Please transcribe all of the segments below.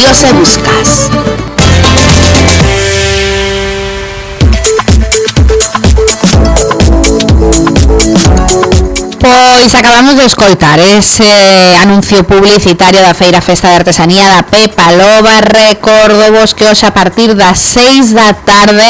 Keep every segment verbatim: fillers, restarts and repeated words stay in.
Dios e buscas. Pois acabamos de escoitar ese anuncio publicitario da Feira Festa de Artesanía da Pepa Loba. Recordovos que hoxe a partir das seis da tarde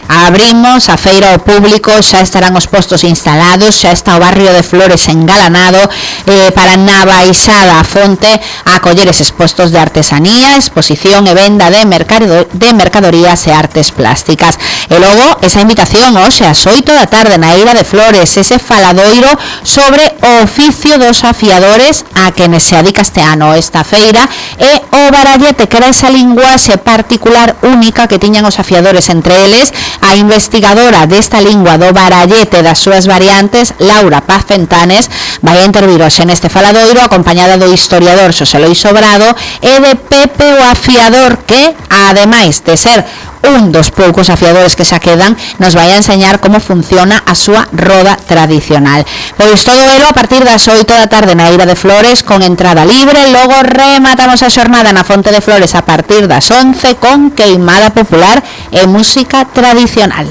abrimos a feira ao público, xa estarán os postos instalados, xa está o barrio de Flores engalanado eh, para na baixada a fonte a acoller eses postos de artesanía, exposición e venda de, mercado, de mercadorías e artes plásticas. E logo esa invitación hoxe ás oito da tarde na Eira de Flores, ese faladoiro sobre o oficio dos afiadores a quenes se adica este ano esta feira e o barallete, que era esa linguaxe particular única que tiñan os afiadores entre eles. A investigadora desta lingua do barallete das súas variantes, Laura Paz Fentanes, vai a intervir hoxe neste faladoiro acompañada do historiador Xosé Lois Sobrado e de Pepe o afiador, que ademais de ser un dos poucos afiadores que xa quedan, nos vai a enseñar como funciona a súa roda tradicional. Pois todo elo a partir das oito da tarde na Eira de Flores con entrada libre. Logo rematamos a xornada na Fonte de Flores a partir das once con queimada popular e música tradicional.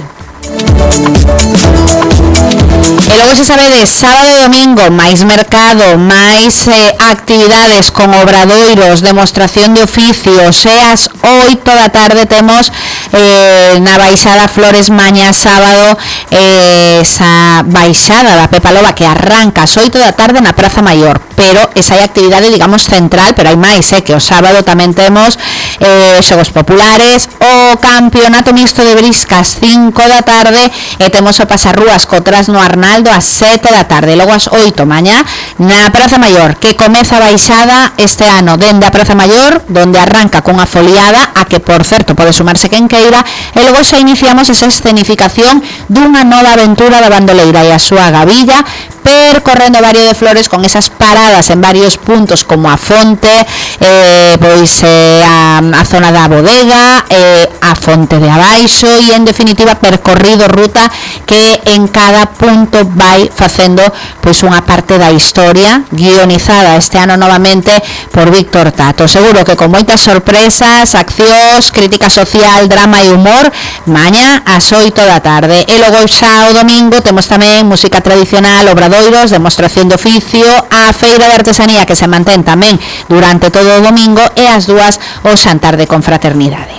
E logo, se sabedes, sábado e domingo máis mercado, máis eh, actividades con obradoiros, demostración de oficios. E ás oito da tarde temos eh, na baixada Flores mañá sábado eh, esa baixada da Pepa Loba que arranca ás oito da tarde na Praza Maior, pero esa é a actividade, digamos, central, pero hai máis, eh, que o sábado tamén temos eh, xogos populares, o campeonato mixto de briscas cinco da tarde e temos o pasarrúas co Trasno Arnaldo ás sete da tarde. Logo ás oito mañá na Praza Maior, que comeza a baixada este ano dende a Praza Maior, donde arranca cunha foliada a que, por certo, pode sumarse quen queira, e logo xa iniciamos esa escenificación dunha nova aventura da bandoleira e a súa gavilla, percorrendo o barrio de Flores con esas paradas en varios puntos como a fonte, eh, pois eh, a, a zona da bodega, eh, a fonte de abaixo e, en definitiva, percorrido ruta que en cada punto vai facendo pois unha parte da historia, guionizada este ano novamente por Víctor Tato. Seguro que con moitas sorpresas, accións, crítica social, drama e humor, mañá ás oito da tarde. E logo xa o domingo temos tamén música tradicional, obradoiros, demostración de oficio, a feira de artesanía que se mantén tamén durante todo o domingo e as dúas o xantar de confraternidade.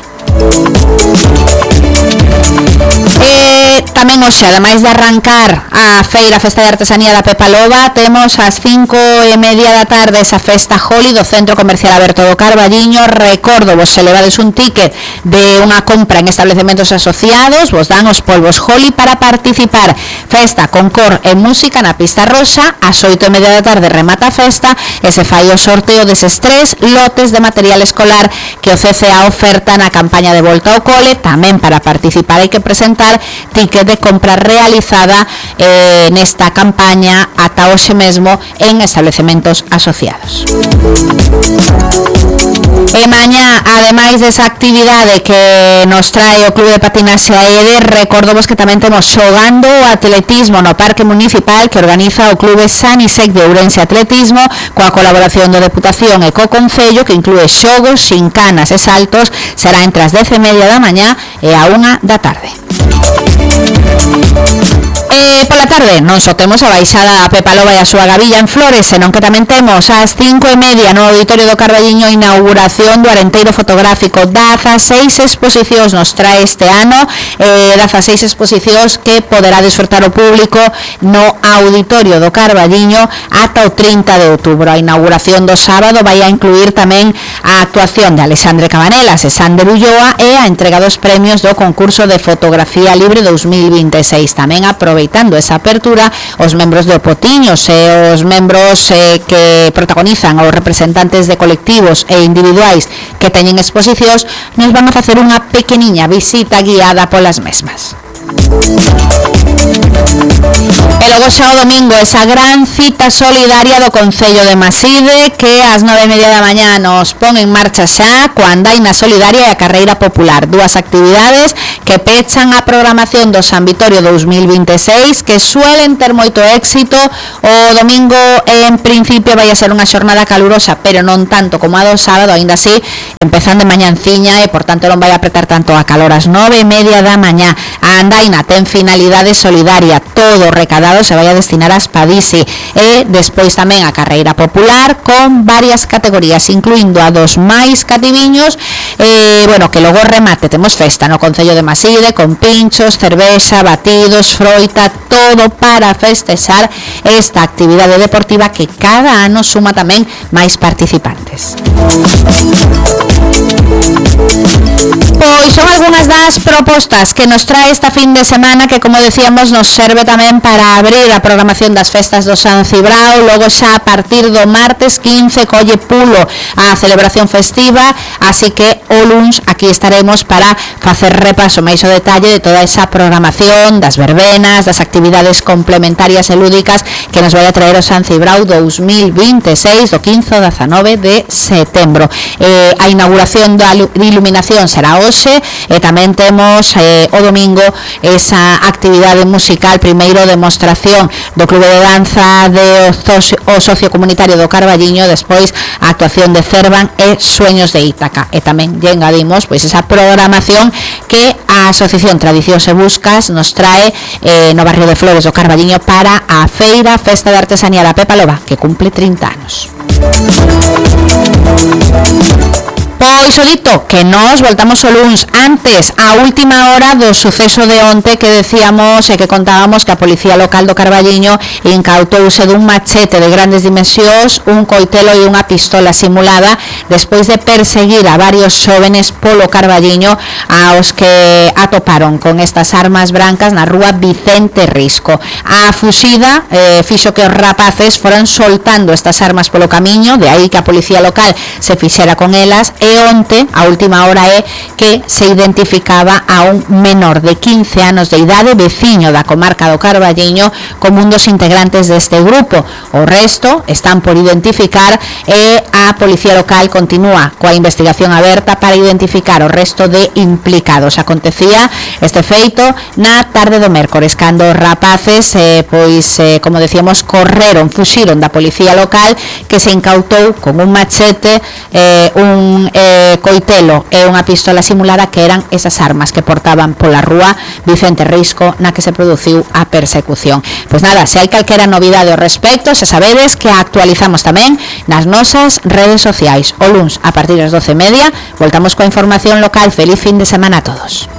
E tamén hoxe, ademais de arrancar a feira Festa de Artesanía da Pepa Loba, temos ás cinco e media da tarde esa festa Holi do Centro Comercial Aberto do Carballiño. Recordo, vos se levades un ticket de unha compra en establecementos asociados, vos dan os polvos Holi para participar. Festa con cor e música na pista rosa. Ás oito e media da tarde remata a festa e se fai o sorteo deses tres lotes de material escolar que o C C A oferta na campaña de volta ao cole. Tamén para participar hai que presentar ticket de compra realizada eh, nesta campaña ata hoxe mesmo en establecementos asociados. E mañá, ademais desa actividade que nos trae o Clube de Patinaxe A E D, recordovos que tamén temos xogando o atletismo no Parque Municipal que organiza o Clube San Isec de Ourense Atletismo, coa colaboración da Deputación e co Concello, que inclúe xogos, xincanas e saltos. Será entre as dez e media da mañá e a unha da tarde. E pola tarde non só temos a baixada a Pepa Loba e a súa gavilla en Flores, senón que tamén temos ás cinco e media no Auditorio do Carballiño a inauguración do Arenteiro Fotográfico. dezaseis exposicións nos trae este ano, eh, dezaseis exposicións que poderá disfrutar o público no Auditorio do Carballiño ata o trinta de outubro. A inauguración do sábado vai a incluir tamén a actuación de Alexandre Cabanelas e Sander Ulloa e a entrega dos premios do concurso de fotografía libre dous mil vinte e seis. Tamén aproveitando esa apertura, os membros de Opotiños e os membros eh, que protagonizan os representantes de colectivos e individuais que teñen exposicións nos van a facer unha pequeniña visita guiada polas mesmas. E logo xa o domingo esa gran cita solidaria do Concello de Maside que ás nove e media da mañá nos pon en marcha xa coa andaina solidaria e a carreira popular, dúas actividades que pechan a programación do San Vitorio dous mil vinte e seis que suelen ter moito éxito. O domingo en principio vai a ser unha xornada calurosa, pero non tanto como a do sábado, aínda así empezando de mañanciña e por tanto non vai a apretar tanto a calor. Ás nove e media da mañá a andaina ten finalidade solidaria, todo recadado se vai a destinar a Spadisi, e despois tamén a carreira popular con varias categorías, incluindo a dos máis cativiños. E, bueno, que logo remate, temos festa no Concello de Maside con pinchos, cervexa, batidos, froita, todo para festexar esta actividade deportiva que cada ano suma tamén máis participantes. Pois son algunhas das propostas que nos trae esta fin de semana que, como decíamos, nos serve tamén para abrir a programación das festas do San Cibrao. Logo xa a partir do martes quince colle pulo a celebración festiva, así que o luns aquí estaremos para facer repaso máis o detalle de toda esa programación das verbenas, das actividades complementarias e lúdicas que nos vai a traer o San Cibrao dous mil vinte e seis do quince ao dezanove de setembro. Eh, a inauguración da iluminación será hoxe e tamén temos eh, o domingo esa actividade musical, primeiro demostración do Clube de Danza de o Socio Comunitario do Carballiño, despois a actuación de Cervan e Sueños de Ítaca, e tamén lle engadimos pois esa programación que a Asociación Tradicións e Buscas nos trae eh, no barrio de Flores do Carballiño para a Feira Festa de Artesanía da Pepa Loba, que cumple trinta anos. Pois o dito, que nos voltamos o luns antes, a última hora do suceso de onte que decíamos e que contábamos que a Policía Local do Carballiño incautouse dun machete de grandes dimensións, un coitelo e unha pistola simulada despois de perseguir a varios xóvenes polo Carballiño aos que atoparon con estas armas brancas na rúa Vicente Risco. A fuxida eh, fixo que os rapaces foran soltando estas armas polo camiño, de aí que a Policía Local se fixera con elas. E onte, a última hora é que se identificaba a un menor de quince anos de idade, veciño da comarca do Carballiño, como un dos integrantes deste grupo. O resto están por identificar e a Policía Local continúa coa investigación aberta para identificar o resto de implicados. Acontecía este feito na tarde do mércores, cando os rapaces, eh, pois, eh, como decíamos, correron, fuxiron da Policía Local, que se incautou con un machete, eh, un eh, coitelo e unha pistola simulada, que eran esas armas que portaban pola rúa Vicente Risco na que se produciu a persecución. Pois nada, se hai calquera novidade ao respecto, xa sabedes que a actualizamos tamén nas nosas redes sociais. O luns, a partir das doce e media, voltamos coa información local. Feliz fin de semana a todos.